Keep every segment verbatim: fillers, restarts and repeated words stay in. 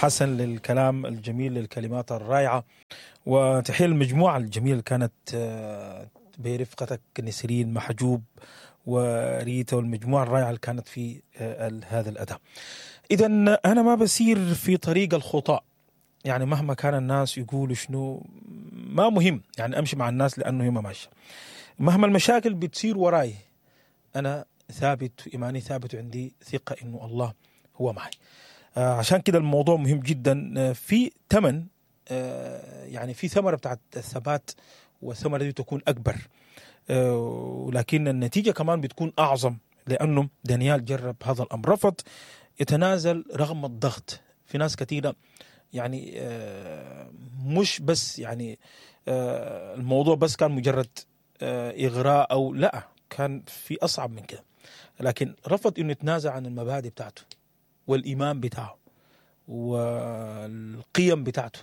حسن للكلام الجميل، للكلمات الرائعة، وتحية للمجموعة الجميلة اللي كانت آه، برفقتك نسرين محجوب وريتا والمجموعة الرائعة اللي كانت في آه، ال- هذا الأداء. إذا أنا ما بسير في طريق الخطأ، يعني مهما كان الناس يقولوا شنو ما مهم، يعني أمشي مع الناس لأنه هي ما ماشية. مهما المشاكل بتصير وراي أنا ثابت، إيماني ثابت، وعندي ثقة إنه الله هو معي. آه، عشان كده الموضوع مهم جدا. آه، في ثمن، آه، يعني في ثمرة بتاعت الثبات، والثمرة دي تكون أكبر، آه، ولكن النتيجة كمان بتكون أعظم، لأنه دانيال جرب هذا الأمر، رفض يتنازل رغم الضغط. في ناس كثيرة يعني آه، مش بس يعني آه، الموضوع بس كان مجرد آه، إغراء أو لا، كان في أصعب من كده، لكن رفض إنه يتنازل عن المبادئ بتاعته والإيمان بتاعه والقيم بتاعته.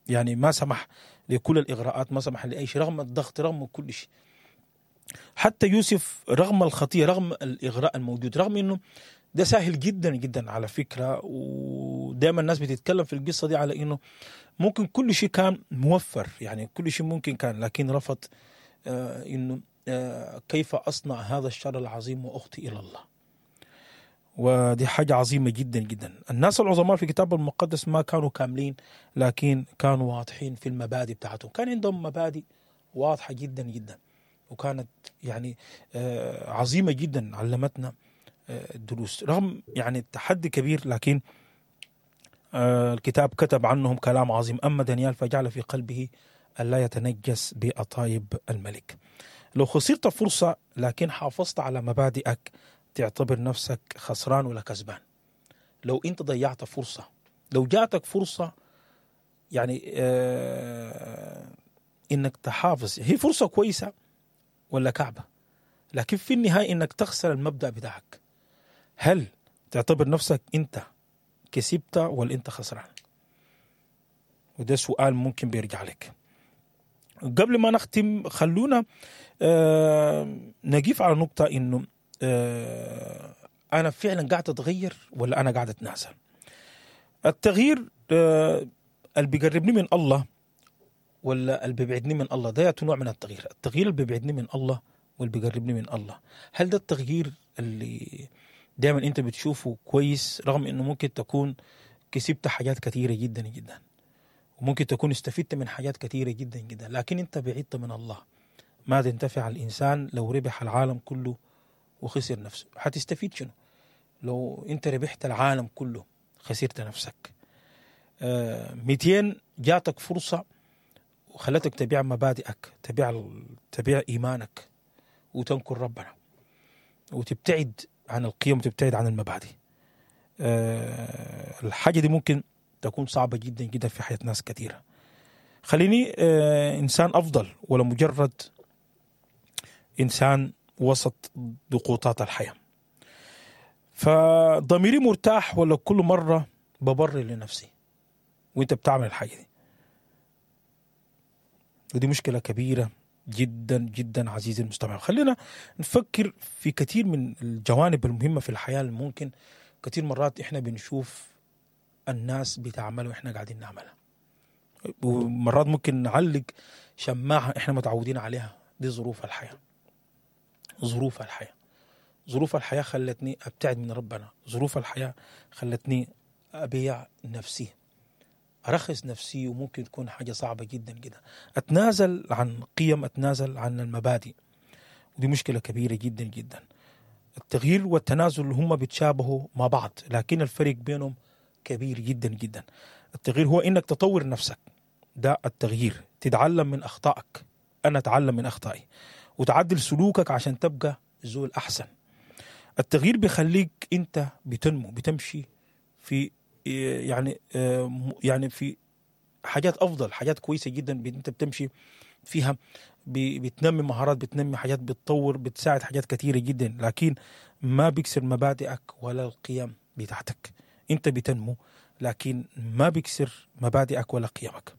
يعني ما سمح لكل الإغراءات، ما سمح لأي شيء رغم الضغط، رغم كل شيء. حتى يوسف رغم الخطية، رغم الإغراء الموجود، رغم إنه ده سهل جدا جدا على فكرة، ودائما الناس بتتكلم في القصة دي على إنه ممكن كل شيء كان موفر، يعني كل شيء ممكن كان، لكن رفض آه إنه آه كيف أصنع هذا الشر العظيم وأخطي إلى الله. ودي حاجة عظيمة جدا جدا. الناس العظماء في الكتاب المقدس ما كانوا كاملين، لكن كانوا واضحين في المبادئ بتاعتهم، كان عندهم مبادئ واضحة جدا جدا، وكانت يعني آه عظيمة جدا، علمتنا آه الدروس رغم يعني التحدي كبير، لكن آه الكتاب كتب عنهم كلام عظيم. أما دانيال فجعل في قلبه ألا يتنجس بأطايب الملك. لو خسرت فرصة لكن حافظت على مبادئك تعتبر نفسك خسران ولا كسبان؟ لو انت ضيعت فرصة، لو جاتك فرصة يعني آه انك تحافظ، هي فرصة كويسة ولا كعبة، لكن في النهاية انك تخسر المبدأ بتاعك، هل تعتبر نفسك انت كسبت ولا انت خسران؟ وده سؤال ممكن بيرجع لك. قبل ما نختم خلونا آه نقف على نقطة انه آه انا فعلا قاعد اتغير ولا انا قاعد اتنازل. التغيير آه اللي بيقربني من الله ولا اللي بيبعدني من الله، ده نوع من التغيير. التغيير اللي بيبعدني من الله واللي بيقربني من الله، هل ده التغيير اللي دايما انت بتشوفه كويس، رغم انه ممكن تكون كسبت حاجات كثيرة جدا جدا، وممكن تكون استفدت من حاجات كثيرة جدا جدا، لكن انت بعدت من الله؟ ماذا ينتفع الإنسان لو ربح العالم كله وخسر نفسه؟ هتستفيد شنو لو انت ربحت العالم كله خسرت نفسك؟ آه مئتين جاتك فرصة وخلتك تبيع مبادئك، تبيع تبيع إيمانك، وتنكر ربنا، وتبتعد عن القيم، وتبتعد عن المبادئ. آه الحاجة دي ممكن تكون صعبة جدا جدا في حياة ناس كثيرة. خليني آه إنسان أفضل ولا مجرد إنسان وسط ضغوطات الحياة؟ فضميري مرتاح ولا كل مرة ببرر لنفسي وانت بتعمل الحاجة دي؟ ودي مشكلة كبيرة جدا جدا عزيزي المستمع. خلينا نفكر في كثير من الجوانب المهمة في الحياة اللي ممكن كثير مرات احنا بنشوف الناس بتعملها واحنا قاعدين نعملها، ومرات ممكن نعلق شماعة احنا متعودين عليها. دي ظروف الحياة، ظروف الحياة، ظروف الحياة خلتني أبتعد من ربنا، ظروف الحياة خلتني أبيع نفسي، أرخص نفسي، وممكن تكون حاجة صعبة جدا جدا، أتنازل عن قيم، أتنازل عن المبادئ، ودي مشكلة كبيرة جدا جدا. التغيير والتنازل هم بيتشابهوا مع بعض، لكن الفرق بينهم كبير جدا جدا. التغيير هو إنك تطور نفسك، ده التغيير، تتعلم من أخطائك، أنا أتعلم من أخطائي، وتعدل سلوكك عشان تبقى زول أحسن. التغيير بيخليك أنت بتنمو، بتمشي في يعني يعني في حاجات أفضل، حاجات كويسة جدا أنت بتمشي فيها، بتنمي مهارات، بتنمي حاجات، بتطور، بتساعد حاجات كثيرة جدا، لكن ما بيكسر مبادئك ولا القيم بتاعتك. أنت بتنمو لكن ما بيكسر مبادئك ولا قيمك.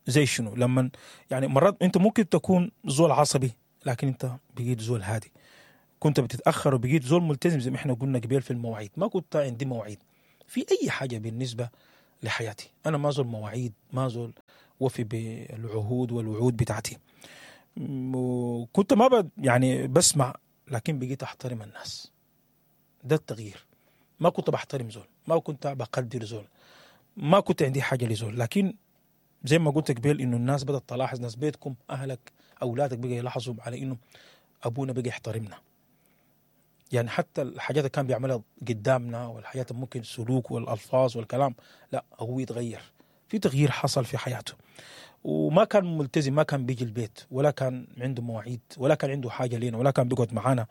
زي شنو؟ لما يعني مرات أنت ممكن تكون زول عصبي لكن أنت بقيت زول هادي، كنت بتتأخر وبقيت زول ملتزم زي ما احنا قلنا قبل في المواعيد، ما كنت عندي مواعيد في اي حاجة بالنسبة لحياتي. انا ما زول مواعيد، ما زول وفي بالعهود والوعود بتاعتي. وكنت ما ب يعني بسمع، لكن بقيت احترم الناس. ده التغيير. ما كنت بحترم زول، ما كنت بقدر زول، ما كنت عندي حاجة لزول، لكن زي ما قلت قبل انه الناس بدات تلاحظ، ناس بيتكم، اهلك، اولادك بقى يلاحظوا على انه ابونا بقى يحترمنا. يعني حتى الحاجات اللي كان بيعملها قدامنا والحاجات اللي ممكن السلوك والالفاظ والكلام، لا هو يتغير، في تغيير حصل في حياته. وما كان ملتزم، ما كان بيجي البيت، ولا كان عنده مواعيد، ولا كان عنده حاجة لينا، ولا كان بيقعد معانا،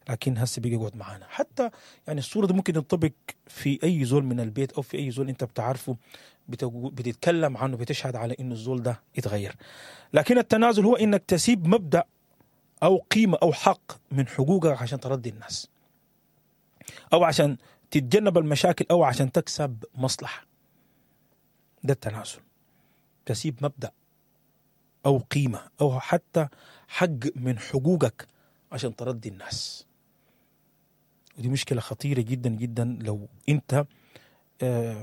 لكن هسه بيجي يقعد معانا. حتى يعني الصورة دي ممكن تنطبق في اي زول من البيت او في اي زول انت بتعرفه، بتتكلم عنه، بتشهد على انه الزول ده يتغير. لكن التنازل هو انك تسيب مبدا او قيمة او حق من حقوقك عشان ترضي الناس، او عشان تتجنب المشاكل، او عشان تكسب مصلحة. ده التنازل، تسيب مبدا او قيمة او حتى حق من حقوقك عشان ترضي الناس. ودي مشكلة خطيرة جدا جدا لو انت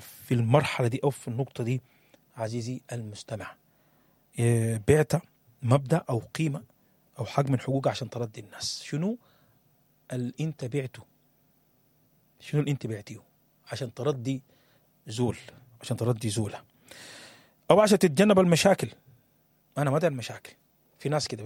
في المرحلة دي او في النقطة دي عزيزي المستمع، بعت مبدا او قيمة او حق من حقوقك عشان ترضي الناس. شنو اللي انت بعته؟ شنو اللي انت بعتيه عشان ترضي زول، عشان ترضي زوله، او عشان تتجنب المشاكل؟ انا ما داير مشاكل. في ناس كده